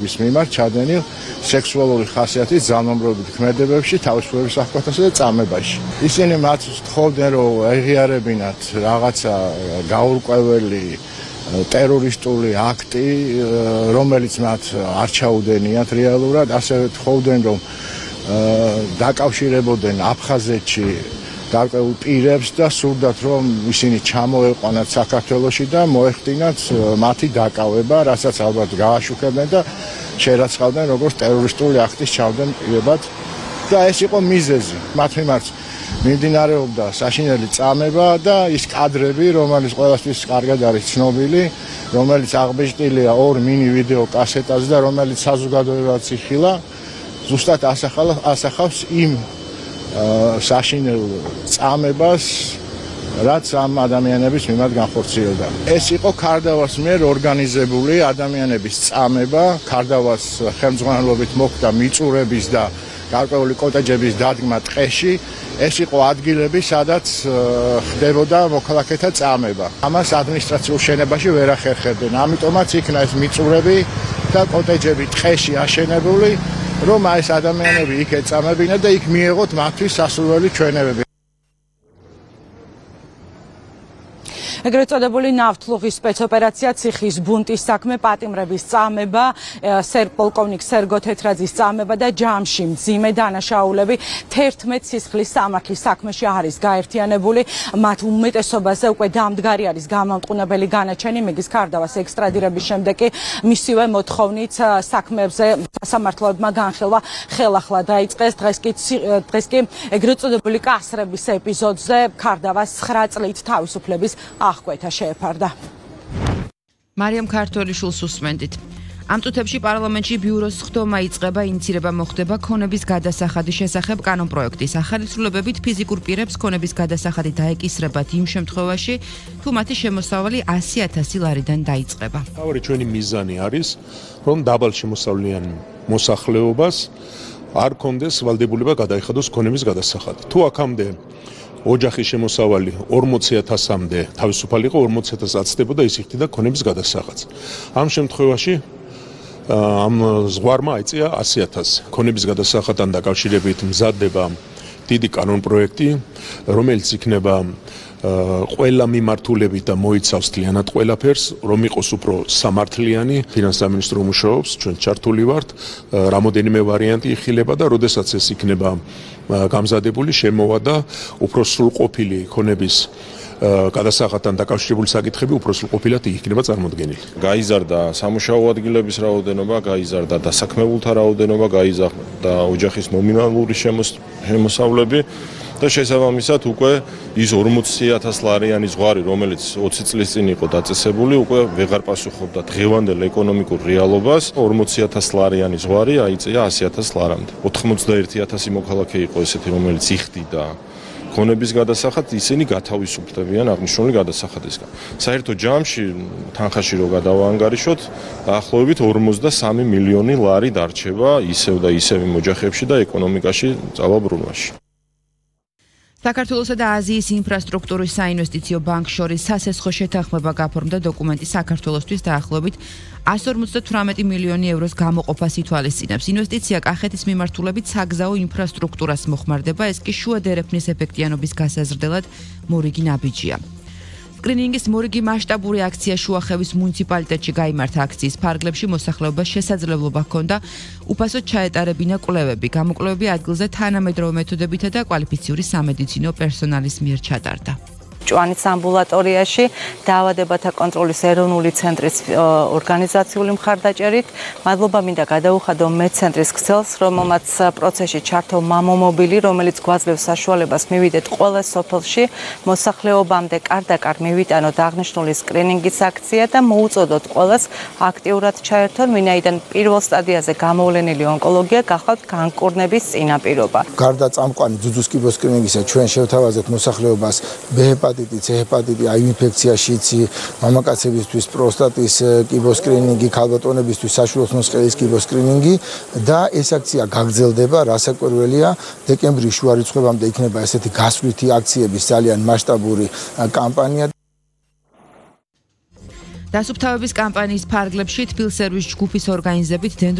ის მიმართ ჩადენილ სექსუალური ხასიათის ძალმომრობით ქმედებებში, თავისუფლების აღკვეთასა და წამებაში. ისინი მათ თხოვდნენ, რომ ეღიარებინათ რაღაცა გაურკვეველი ტერორისტული აქტი, რომელიც მათ არ ჩაუდენიათ რეალურად, ასევე თხოვდნენ, რომ დაკავშირებოდნენ აფხაზეთში გარკვეულ პირებს და სურდათ, რომ ისინი ჩამოეყვანათ საქართველოში და მოეხდინათ მათი დაკავება, რასაც ალბათ გააშუქებდნენ და შერაცხავდნენ როგორც ტერორისტული აქტის ჩავდენებად და ეს იყო მიზეზი. მათ მიმართ მიმდინარეობდა საშინელი წამება და ის კადრები, რომელიც ყველასთვის კარგად არის ცნობილი, რომელიც აღბეჭდილია 2 მინი ვიდეო კასეტაზე და რომელიც საზოგადოებაც იხილა, ზუსტად ასახავს იმ საშინელ წამებას, რაც ამ ადამიანების მიმართ განხორციელდა. ეს იყო ქარდავას მიერ ორგანიზებული ადამიანების წამება, ქარდავას ხელმძღვანელობით მოხდა მიწურების და გარკვეული კოტეჯების დადგმა ტყეში. ეს იყო ადგილები, სადაც ხდებოდა მოქალაქეთა წამება. ამას ადმინისტრაციულ შენებაში ვერ ახერხებდნენ. ამიტომაც იქნა ეს მიწურები და კოტეჯები ტყეში აშენებული, რომ ეს ადამიანები იქ ეწამებინათ და იქ მიეღოთ მათთვის სასურველი ჩვენებები. ეგრეთ წოდებული ნავთლუღის სპეცოპერაცია, ციხის ბუნტის საქმე, პატიმრების წამება, პოლკოვნიკ სერგო თეთრაძის წამება და ჯამში მძიმე დანაშაულები 11 სისხლის სამართლის საქმეში არის გაერთიანებული. მათ უმეტესობაზე უკვე დამდგარი არის გამამტყუნებელი განაჩენი. მეგის ქარდავას ექსტრადირების შემდეგ კი მისივე მოთხოვნით საქმეებზე სასამართლოებმა განხილვა ხელახლა დაიწყეს. დღეს კი ეგრეთ წოდებული კასრების ეპიზოდზე ქარდავას 9 წლით თავისუფლების აღკვეთა შეეფარდა. მარიამ ქართველიშვილს უსმენდით. ამ წუთებში პარლამენტში ბიუროს ხდომა იწყება, ინიცირება მოხდება ქონების გადასახადის შესახებ კანონპროექტის. ახალისრულებებით ფიზიკურ პირებს ქონების გადასახადი დაეკისრებათ იმ შემთხვევაში, თუ მათი შემოსავალი 100,000 ლარიდან დაიწყება. თავი ჩვენი მიზანი არის, რომ დაბალ შემოსავლიან მოსახლეობას არ კონდეს ვალდებულება გადაიხადოს ქონების გადასახადი. თუ აქამდე ოჯახის შემოსავალი 40,000-მდე თავისუფალი იყო, 40,000 აცდებოდა, ის იხდიდა ქონების გადასახადს. ამ შემთხვევაში ამ ზღვარმა აიწია 100,000. ქონების გადასახადთან დაკავშირებით მზადდება დიდი კანონპროექტი, რომელიც იქნება ყველა მიმართულებით და მოიცავს მთლიანად ყველაფერს, რომ იყოს უფრო სამართლიანი. ფინანსთა სამინისტრო მუშაობს, ჩვენ ჩართული ვართ, რამოდენიმე ვარიანტი იხილება და როდესაც ეს იქნება გამზადებული, შემოვა და უფრო სრულყოფილი ქონების გადასახადთან დაკავშირებული საკითხები უფრო სრულყოფილად იქნება წარმოდგენილი. გაიზარდა სამუშაო ადგილების რაოდენობა, გაიზარდა დასაქმებულთა რაოდენობა, გაიზარდა ოჯახის ნომინალური შემოსავლები და შესაბამისად უკვე ის 40,000 ლარიანი ზღვარი, რომელიც 20 წლის წინ იყო დაწესებული, უკვე ვეღარ პასუხობდა დღევანდელ ეკონომიკურ რეალობას. 40,000 ლარიანი ზღვარი აიწია 100,000 ლარამდე. 91,000 მოქალაქე იყო ესეთი, რომელიც იხდიდა ქონების გადასახადს, ისინი გათავისუფლდებიან აღნიშნული გადასახადისგან. საერთო ჯამში თანხაში რო გადავაანგარიშოთ, დაახლოებით 53 მილიონი ლარი დარჩება ისევ და ისევ იმ ოჯახებში და ეკონომიკაში წავაბრუნვაში. საქართველოსა და აზიის ინფრასტრუქტურის საინვესტიციო ბანკს შორის სასესხო შეთანხმება გაფორმდა. დოკუმენტი საქართველოსთვის დაახლოებით 158 მილიონი ევროს გამოყოფას ითვალისწინებს. ინვესტიცია კახეთის მიმართულებით საგზაო ინფრასტრუქტურას მოხმარდება, ეს კი შუა დერეფნის ეფექტიანობის გასაზრდელად მორიგი ნაბიჯია. სკრინინგის მორიგი მასშტაბური აქცია შუახევის მუნიციპალიტეტში გაიმართა. აქციის ფარგლებში მოსახლეობას შესაძლებლობა ჰქონდა უფასოდ ჩაეტარებინა კვლევები. გამოკვლევები ადგილზე თანამედროვე მეთოდებითა და კვალიფიციური სამედიცინო პერსონალის მიერ ჩატარდა. ჭვანის ამბულატორიაში დაავადებათა კონტროლის ეროვნული ცენტრის ორგანიზაციული მხარდაჭერით. მადლობა მინდა გადაუხადო მეცენტრის ქსელს, რომელმაც პროცესში ჩართო მამომობილი, რომელიც გვაძლევს საშუალებას მივიდეთ ყველა სოფელში, მოსახლეობამდე კარდაკარ მივიტანოთ აღნიშნული სკრინინგის აქცია და მოუწოდოთ ყველას აქტიურად ჩაერთონ, ვინაიდან პირველ სტადიაზე გამოვლენილი ონკოლოგია გახლავთ განკურნების წინაპირობა. გარდა წამყვანი ძუძუს კიბოს სკრინინგისა, ჩვენ შევთავაზეთ მოსახლეობას ჰეპატიტი, C ჰეპატიტი, აივ ინფექცია, შიცი, მამაკაცებისთვის პროსტატის კიბოს სკრინინგი, ქალბატონებისთვის საშუალო მოსყელის კიბოს სკრინინგი და ეს აქცია გაგრძელდება, რასაკვირველია, დეკემბრის შუა რიცხვებამდე იქნება ესეთი გასვლითი აქციების ძალიან მასშტაბური კამპანია. დასუფთავების კამპანიის ფარგლებში თბილ სერვის ჯგუფის ორგანიზებით